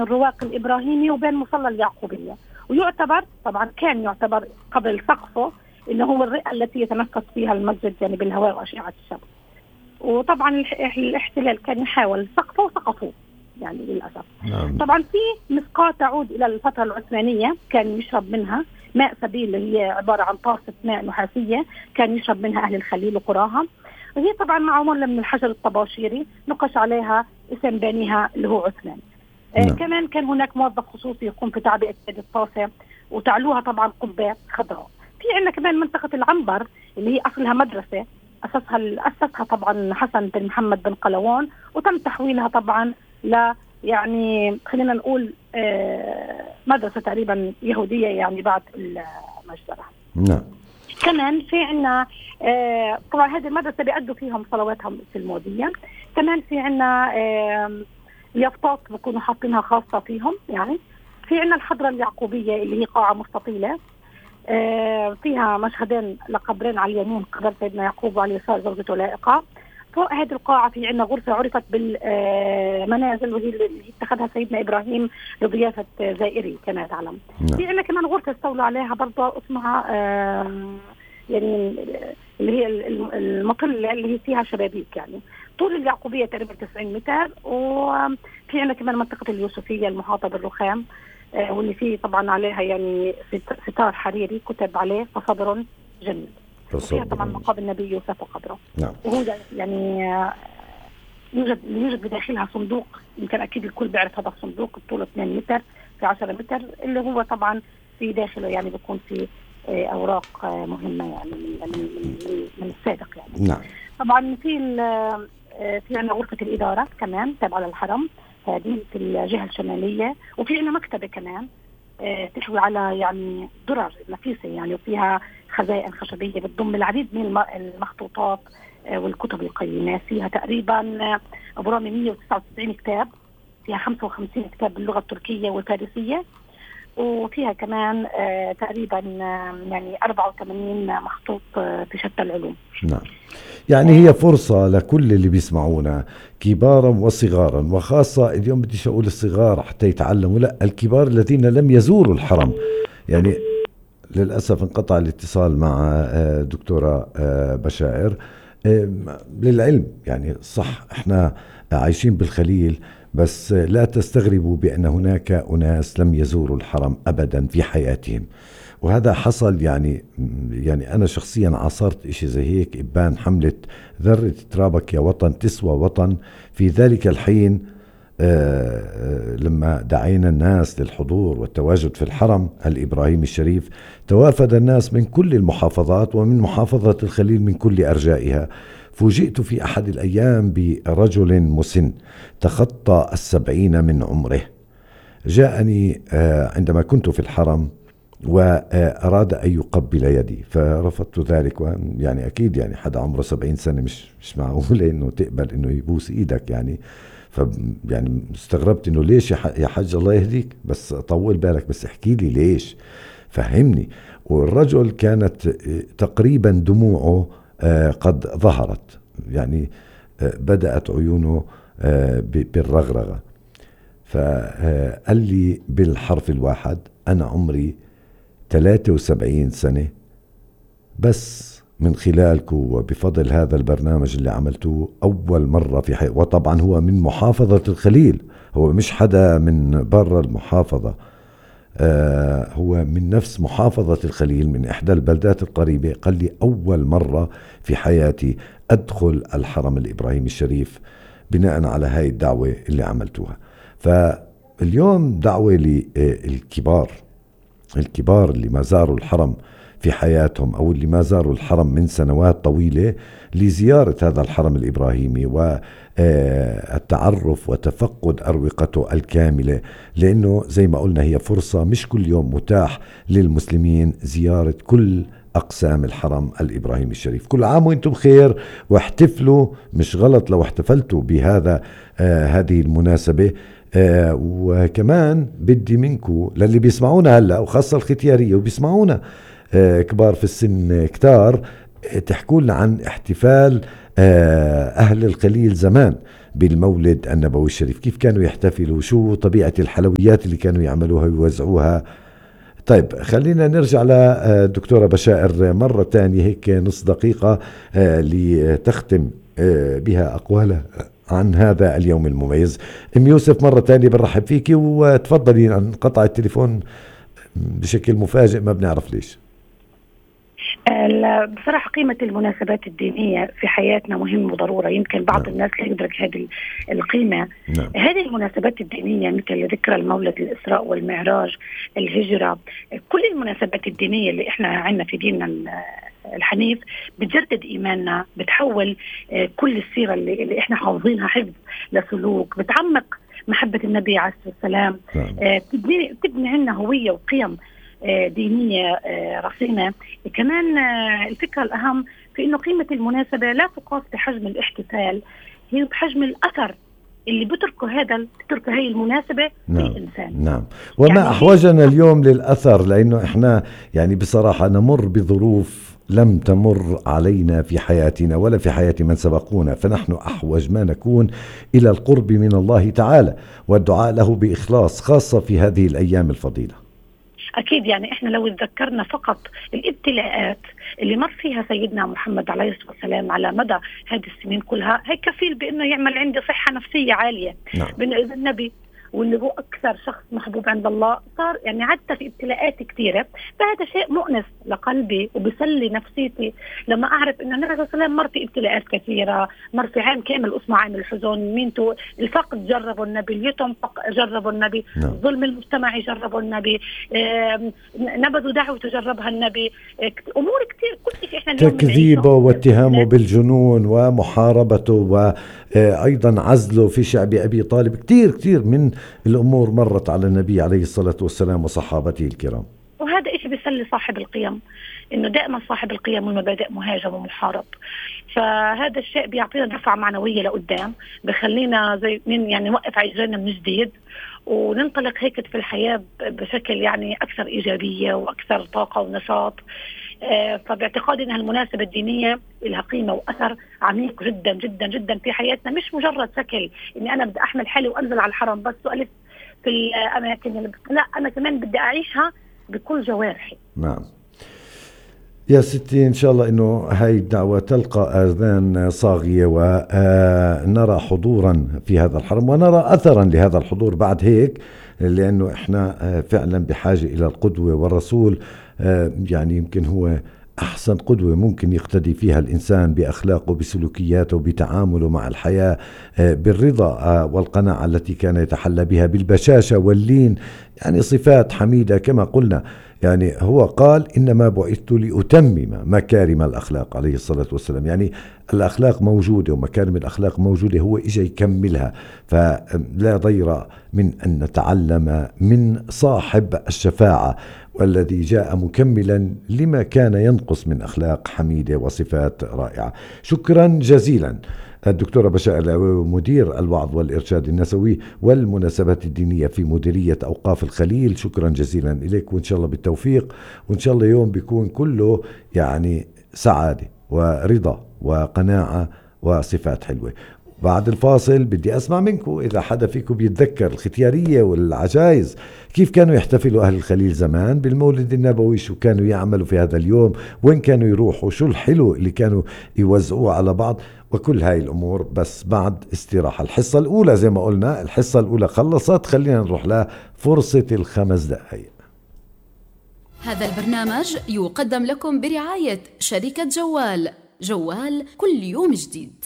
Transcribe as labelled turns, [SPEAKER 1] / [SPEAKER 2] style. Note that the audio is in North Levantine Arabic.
[SPEAKER 1] الرواق الإبراهيمي وبين مصلى اليعقوبية، ويعتبر طبعا كان يعتبر قبل سقفه إنه هو الرئة التي يتنفس فيها المسجد يعني بالهواء وأشعة الشمس. وطبعا الاحتلال كان يحاول سقفه وسقفوه يعني للأسف. طبعا في مسقاة تعود إلى الفترة العثمانية كان يشرب منها ماء سبيل، اللي هي عبارة عن طاسة ماء نحاسية كان يشرب منها أهل الخليل وقراها، وهي طبعا معمولة من الحجر الطباشيري نقش عليها اسم بانيها اللي هو عثمان. كمان كان هناك موظف خصوصي يقوم في تعبئة هذه الطاسة، وتعلوها طبعا قبات خضراء. في عندنا كمان منطقة العنبر اللي هي أصلها مدرسة أسسها طبعا حسن بن محمد بن قلاوون، وتم تحويلها طبعا ل يعني خلينا نقول مدرسة تقريبا يهودية يعني بعد المجزرة.
[SPEAKER 2] نعم.
[SPEAKER 1] كمان في عنا طبعا هذه المدرسة بيأدوا فيهم صلواتهم في المودية. كمان في عنا يافطات بكونوا حاطينها خاصة فيهم. يعني في عنا الحضرة اليعقوبية اللي هي قاعة مستطيلة فيها مشهدين لقبرين على اليمين، قبر سيدنا يعقوب وعلى اليسار زوجته لائقة. فوق هذه القاعة في عنا غرفة عرفت بالمنازل، وهي اللي اتخذها سيدنا إبراهيم لضيافة زائري كما تعلم. في عنا كمان غرفة استولوا عليها برضه اسمها يعني اللي هي المطلة اللي هي فيها شبابيك. يعني طول اليعقوبية تقريبا 90 متر. وفي عنا كمان منطقة اليوسفية المحاطة بالرخام واللي فيه طبعا عليها يعني ستار حريري كتب عليه فصبر جميل. فيها طبعا مقابر النبي يوسف وقبره.
[SPEAKER 2] نعم.
[SPEAKER 1] وهو يعني يوجد بداخلها صندوق، يمكن أكيد الكل بيعرف هذا الصندوق، طوله 2 متر في 10 متر، اللي هو طبعا في داخله يعني بيكون في أوراق مهمة يعني من السابق يعني.
[SPEAKER 2] نعم.
[SPEAKER 1] طبعا في عنا غرفة الإدارة كمان تابعة للحرم، هذه في الجهة الشمالية. وفي عنا مكتبة كمان تحوي على يعني درر نفيسة يعني، وفيها خزائن خشبية بتضم العديد من المخطوطات والكتب القيمة. فيها تقريبا أبرام 199 كتاب، فيها 55 كتاب باللغة التركية والفارسية، وفيها كمان تقريبا يعني 84 مخطوط في شتى العلوم.
[SPEAKER 2] نعم. يعني هي فرصة لكل اللي بيسمعونا كبارا وصغارا، وخاصة اليوم بديش أقول الصغار حتى يتعلموا، لا الكبار الذين لم يزوروا الحرم. يعني للأسف انقطع الاتصال مع دكتورة بشائر. للعلم يعني صح احنا عايشين بالخليل، بس لا تستغربوا بأن هناك أناس لم يزوروا الحرم أبدا في حياتهم، وهذا حصل. يعني أنا شخصيا عاصرت إشي زي هيك، إبان حملة ذرة ترابك يا وطن تسوى وطن. في ذلك الحين لما دعينا الناس للحضور والتواجد في الحرم الإبراهيمي الشريف، توافد الناس من كل المحافظات ومن محافظة الخليل من كل أرجائها. فوجئت في أحد الأيام برجل مسن تخطى 70 من عمره، جاءني عندما كنت في الحرم وأراد أن يقبل يدي، فرفضت ذلك. يعني أكيد يعني حدا عمره 70 سنة مش معقول إنه تقبل إنه يبوس إيدك يعني. يعني استغربت إنه ليش يا حج الله يهديك، بس طول بالك، بس احكي لي ليش، فهمني. والرجل كانت تقريبا دموعه قد ظهرت، يعني بدأت عيونه بالرغرغة. فقال لي بالحرف الواحد: أنا عمري 73 سنة، بس من خلالكم وبفضل هذا البرنامج اللي عملتوه أول مرة في حياتي. وطبعا هو من محافظة الخليل، هو مش حدا من برا المحافظة، هو من نفس محافظة الخليل من إحدى البلدات القريبة. قال لي أول مرة في حياتي أدخل الحرم الإبراهيمي الشريف بناء على هاي الدعوة اللي عملتوها. فاليوم دعوة للكبار اللي ما زاروا الحرم في حياتهم، أو اللي ما زاروا الحرم من سنوات طويلة، لزيارة هذا الحرم الإبراهيمي والتعرف وتفقد أروقته الكاملة، لأنه زي ما قلنا هي فرصة مش كل يوم متاح للمسلمين زيارة كل أقسام الحرم الإبراهيمي الشريف. كل عام وانتم بخير، واحتفلوا، مش غلط لو احتفلتوا بهذا هذه المناسبة. وكمان بدي منكم للي بيسمعونا هلأ، وخاصة الختيارية وبيسمعونا كبار في السن كتار، تحكوا لنا عن احتفال أهل الخليل زمان بالمولد النبوي الشريف؟ كيف كانوا يحتفلوا؟ شو طبيعة الحلويات اللي كانوا يعملوها ويوزعوها؟ طيب خلينا نرجع لدكتورة بشائر مرة تانية هيك نص دقيقة لتختم بها أقوالها عن هذا اليوم المميز. أم يوسف مرة تانية برحب فيكي، وتفضلي. انقطع التليفون بشكل مفاجئ ما بنعرف ليش.
[SPEAKER 1] بصراحة قيمة المناسبات الدينية في حياتنا مهم وضرورة. يمكن بعض الناس لا يدرك هذه القيمة. هذه المناسبات الدينية مثل ذكرى المولد، الإسراء والمعراج، الهجرة، كل المناسبات الدينية اللي احنا عندنا في ديننا الحنيف بتجدد إيماننا، بتحول كل السيرة اللي احنا حافظينها حفظ لسلوك، بتعمق محبة النبي عليه الصلاة والسلام، بتبني عنا هوية وقيم دينية رصينة. كمان الفكرة الأهم في إنه قيمة المناسبة لا تقاس بحجم الاحتفال، هي بحجم الأثر اللي بتركه هاي المناسبة في الإنسان.
[SPEAKER 2] نعم. وما يعني أحوجنا اليوم للأثر، لأنه إحنا يعني بصراحة نمر بظروف لم تمر علينا في حياتنا ولا في حياة من سبقونا، فنحن أحوج ما نكون إلى القرب من الله تعالى والدعاء له بإخلاص، خاصة في هذه الأيام الفضيلة.
[SPEAKER 1] أكيد يعني إحنا لو تذكرنا فقط الابتلاءات اللي مر فيها سيدنا محمد عليه الصلاة والسلام على مدى هذه السنين كلها، هي كفيل بأنه يعمل عندي صحة نفسية عالية. إذا النبي واللي هو أكثر شخص محبوب عند الله صار يعني عدت في ابتلاءات كثيرة، فهذا شيء مؤنس لقلبي وبسلي نفسيتي لما أعرف إن النبي صلى الله عليه وسلم مر في ابتلاءات كثيرة، مر في عام كامل اسمه عام الحزن، مينتو الفقد جربوا النبي، اليتم جربوا النبي، ظلم المجتمع جربوا النبي، نبذوا دعوة تجربها النبي، أمور كثير كل شيء إحنا
[SPEAKER 2] تكذيبه واتهامه بالجنون ومحاربته وأيضا عزله في شعب أبي طالب، كثير من الأمور مرت على النبي عليه الصلاة والسلام وصحابته الكرام.
[SPEAKER 1] وهذا إيش بيسلي صاحب القيم، إنه دائما صاحب القيم والمبادئ مهاجم ومحارب، فهذا الشيء بيعطينا دفعة معنوية لقدام، بخلينا زي يعني نوقف عجلنا من جديد وننطلق هيك في الحياة بشكل يعني أكثر إيجابية وأكثر طاقة ونشاط. فباعتقادي أن المناسبة الدينية لها قيمة وأثر عميق جدا جدا جدا في حياتنا، مش مجرد شكل إني أنا بدي أحمل حالي وأنزل على الحرم بس وألف في الأماكن لا، أنا كمان بدي أعيشها بكل جوارحي.
[SPEAKER 2] نعم يا ستي، إن شاء الله إنه هاي الدعوة تلقى آذان صاغية ونرى حضورا في هذا الحرم ونرى أثرا لهذا الحضور بعد هيك، لأنه إحنا فعلا بحاجة إلى القدوة، والرسول يعني يمكن هو أحسن قدوة ممكن يقتدي فيها الإنسان بأخلاقه بسلوكياته بتعامله مع الحياة، بالرضا والقناعة التي كان يتحلى بها، بالبشاشة واللين، يعني صفات حميدة كما قلنا. يعني هو قال إنما بعثت لأتمم مكارم الأخلاق عليه الصلاة والسلام، يعني الأخلاق موجودة ومكارم الأخلاق موجودة، هو إجا يكملها. فلا ضير من أن نتعلم من صاحب الشفاعة والذي جاء مكملا لما كان ينقص من أخلاق حميدة وصفات رائعة. شكرا جزيلا الدكتورة بشائر العويوي، مدير الوعظ والإرشاد النسوي والمناسبات الدينية في مديرية أوقاف الخليل. شكرا جزيلا إليك، وإن شاء الله بالتوفيق، وإن شاء الله يوم بيكون كله يعني سعادة ورضا وقناعة وصفات حلوة. بعد الفاصل بدي أسمع منكم إذا حدا فيكم بيتذكر الختيارية والعجائز، كيف كانوا يحتفلوا أهل الخليل زمان بالمولد النبوي، شو كانوا يعملوا في هذا اليوم، وين كانوا يروحوا، شو الحلو اللي كانوا يوزعوه على بعض، وكل هاي الأمور بس بعد استراحة. الحصة الأولى زي ما قلنا، الحصة الأولى خلصت، خلينا نروح لها فرصة ال5 دقائق.
[SPEAKER 3] هذا البرنامج يقدم لكم برعاية شركة جوال كل يوم جديد.